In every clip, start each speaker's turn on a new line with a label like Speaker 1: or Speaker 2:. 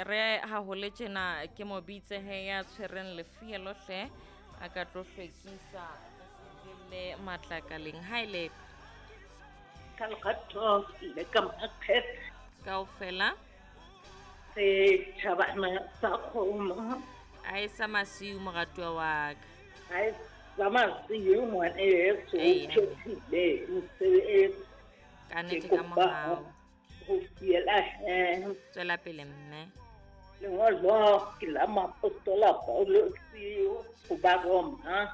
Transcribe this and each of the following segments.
Speaker 1: Re ha ho le tjena ke mo bitse he ya tshwereng lefielo hle a ka tlo hlwekisa le matlakaleng ha ile
Speaker 2: ka lerato le ka makgethe
Speaker 1: kaofela
Speaker 2: setšhabana sa kgomo
Speaker 1: a e sa masiu moratuwa wa ka
Speaker 2: a e sa masiu ngwaneso o phethile mosebetsi
Speaker 1: ka nnete ka mohau
Speaker 2: go fiela he
Speaker 1: tswela pele mme
Speaker 2: lengolo ke la moapostola Paulose go Baroma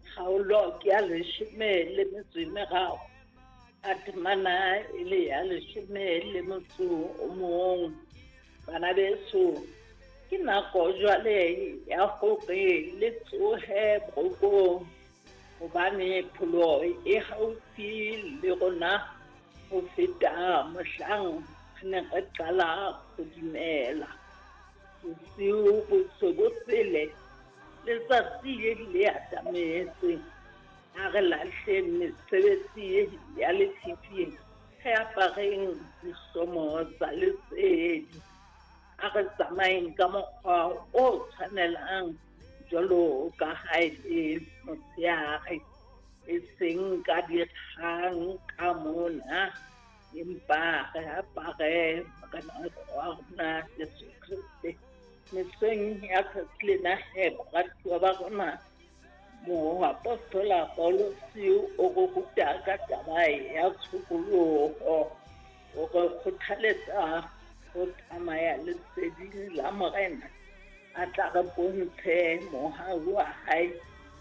Speaker 2: kgaolo ke ya leshome le metso e meraro a temana e le ya leshome le motso o mong bana beso ke nako jwale ya hore le tsohe borokong hobane pholoho e haufi le rona ho feta mohlang re ne re qala ho dumela. Bosiu bo se bo sele, letsatsi le atametse. A re lahleng mesebetsi ya lefifi, re apareng dihlomo tsa lesedi. A re tsamayeng ka mokgwa o tshwanelang jwalo ka ha e le motshehare, e seng ka dikgang ka mona, empa re apare Morena wa rona Jesu Kreste. Mesong ya tsatsi lena he, baratuwa ba rona, moapostola Paulose o re ruta ka taba ya tshokoloho. O re kgothaletsa ho tsamaya leseding la Morena, a tla re bontshe mohau wa hae,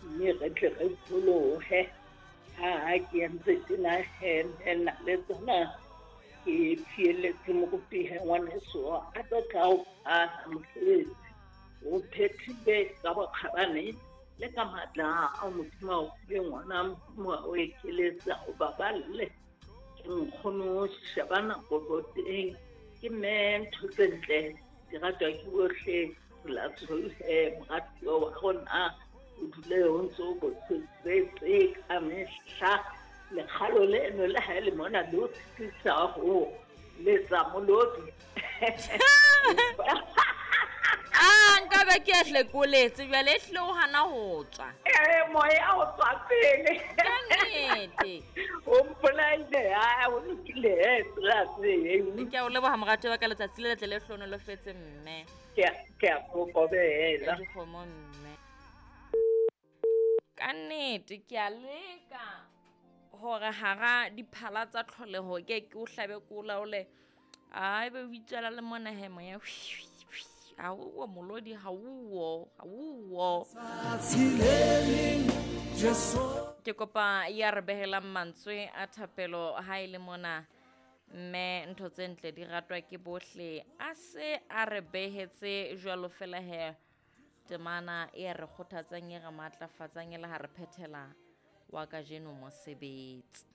Speaker 2: mme re tle re pholohe. Ha ke entse tjena he, nna le tsona ke fieletse moruti he ngwaneso a tlo tla o phala mosebetsi. O phethile ka bokgabane le ka matla ao Modimo a o fileng ona, Modimo a o ekeletse, a o baballe. Ke nkgono sheba nako boteng ke mme ntho tse ntle di ratwa ke bohle la moratuwa wa rona o dule o ntse o botsetse ka mehla lekgalo leno le ha e le mona le o sitisa ho letsa molodi
Speaker 1: a nkabe ke a hlekoletse bjale e hlile o gana go tswa
Speaker 2: ee moya o tswa pele
Speaker 1: ka nnete
Speaker 2: o mpolaile a o lokile polase
Speaker 1: ke a o leboga morato wa ka letsatsi le letle le hlonolofetse mme
Speaker 2: ke a kokobela
Speaker 1: dikgomo mme Ka nnete ke a leka hore hara diphala tsa tlholeho ke ke o hlabe ke o laole a ebe o itswela le mona he moya ha o molodi ha o ha o ke kopa ya re behelang mantswe a thapelo ha e le mona mme ntho tse ntle di ratwa ke bohle a se a re behetse jwalo fela he Temana e re kgothatsang e re matlafatsang e le ha re phethela wa kajeno mosebetsi.